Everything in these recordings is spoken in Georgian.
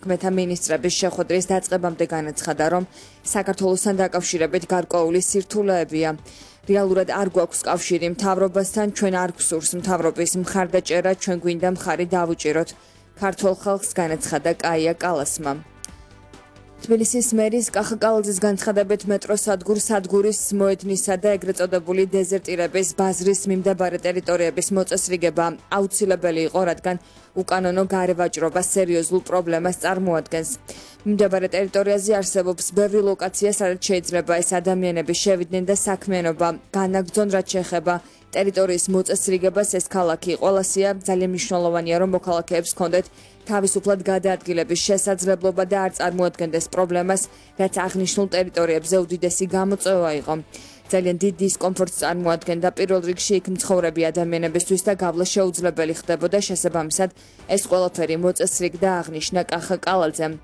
საქმეთა მინისტრების შეხვედრის დაწყებამდე განაცხადა, რომ საქართველოსთან დაკავშირებით გარკვეული სირთულეებია. რეალურად არ გვაქვს კავშირი მთავრობასთან, ჩვენ არ გვსურს მთავრობის მხარდაჭერა, ჩვენ გვინდა მხარი დავუჭიროთ. ქართველ ხალხს განაცხადა კაია კალასმა. თბილისის მერის კახაკალაძის განცხადებით სადგურის მოედნისა და ეგრეთ წოდებული დეზერტირების ბაზრის მიმდებარე ტერიტორიების მოწესრიგება აუცილებელი იყო, რადგან უკანონო გარევაჭრობა სერიოზულ პრობლემას წარმოადგენს. მიმდებარე ტერიტორიაზე არსებობს ბევრი ლოკაცია, სადაც შეიძლება ეს ადამიანები შევიდნენ და საქმიანობა განაგრძონ, რაც შეეხება ტერიტორიის მოწესრიგებას. ეს ქალაქი ყველასია, ძალიან მნიშვნელოვანია, რომ მოქალაქეებს ჰქონდეთ თავისუფლად გადაადგილების შესაძლებლობა და არ წარმოადგენდეს პრობლემას, რაც აღნიშნულ ტერიტორიებზე უდიდესი გამოწვევა იყო. ძალიან დიდ დისკომფორტს წარმოადგენდა პირველ რიგში იქ მცხოვრები ადამიანებისთვის და გავლა შეუძლებელი ხდებოდა, შესაბამისად ეს ყველაფერი მოწესრიგდა, აღნიშნა კახაკალაძემ.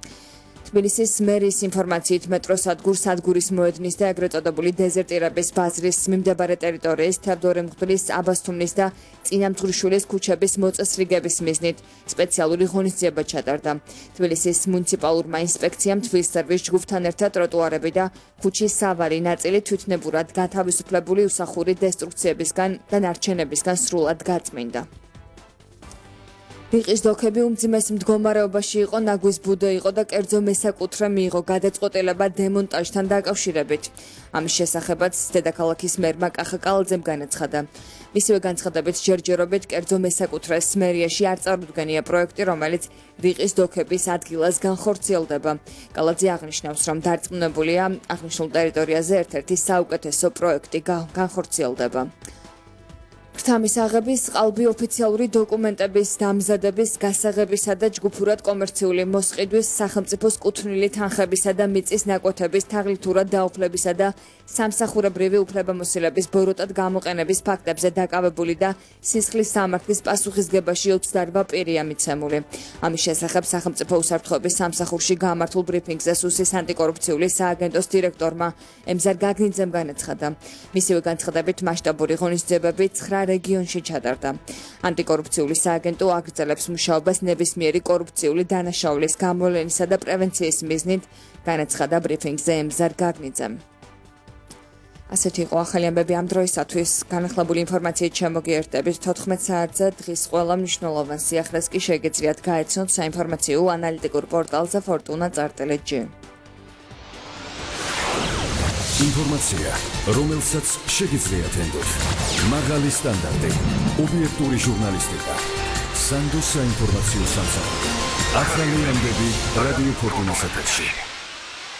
თბილისის მერის ინფორმაციით სადგურის მოედნის და ეგრეთ წოდებული დეზერტირების ბაზრის მიმდებარე ტერიტორიის თევდორე მღვდლის, აბასთუმნის და წინამძღვრიშვილის ქუჩების მოწესრიგების მიზნით სპეციალური ღონისძიება ჩატარდა. თბილისის მუნიციპალურმა ინსპექციამ თბილისერვის ჯგუფთან ერთად ტროტუარები და ქუჩის სავალი ნაწილი თვითნებურად გათავისუფლებული უსახური დესტრუქციებისგან და ნარჩენებისგან სრულად გაწმინდა. რიყის დოქები უმძიმეს მდგომარეობაში იყო, ნაგვის ბუდე იყო და კერძო მესაკუთრე მიიღო გადაწყვეტილება დემონტაჟთან დაკავშირებით. ამის შესახებაც დედაქალაქის მერმა კახაკალაძემ განაცხადა. მისივე განცხადებით ჯერჯერობით კერძო მესაკუთრეს მერიაში არ წარუდგენია პროექტი, რომელიც რიყის დოქების ადგილას განხორციელდება. კალაძე აღნიშნავს, რომ დარწმუნებულია აღნიშნულ ტერიტორიაზე ერთ-ერთი საუკეთესო პროექტი განხორციელდება. ფრთამის აღების, ყალბი ოფიციალური დოკუმენტების დამზადების, გასაღებისა და ჯგუფურად კომერციული მოსყიდვის, სახელმწიფოს კუთვნილი თანხებისა და მიწის ნაკვეთების თაღლითურად დაუფლებისა და სამსახურებრივი უფლებამოსილების ბოროტად გამოყენების ფაქტებზე დაკავებული და სისხლის სამართლის პასუხისგებაში 28 პირია მიცემული. ამის შესახებ სახელმწიფო უსაფრთხოების სამსახურში გამართულ ბრიფინგზე სუსის ანტიკორუფციული სააგენტოს დირექტორმა ემზარ გაგნიძემ განაცხადა. მისივე განცხადებით მასშტაბური ღონისძიებები 9 რეგიონში ჩატარდა. ანტიკორუფციული სააგენტო აგრძელებს მუშაობას ნებისმიერი კორუფციული დანაშაულის გამოვლენისა და პრევენციის მიზნით, განაცხადა ბრიფინგზე ემზარ გაგნიძემ. ასეთი იყო ახალი ამბები ამ დროისათვის. განახლებული ინფორმაციით შემოგიერთდებით 14 საათზე. დღის ყველა მნიშვნელოვან სიახლეს კი შეგეძლიათ გაეცნოთ საინფორმაციო ანალიტიკურ პორტალზე fortuna.gt. ინფორმაცია, რომელსაც შეგიძლიათ ენდოთ. მაღალი სტანდარტი, ობიექტური ჟურნალისტიკა. სანდო საინფორმაციო სამსახური. ახალი ამბები რადიო ფორტუნას ეთერში.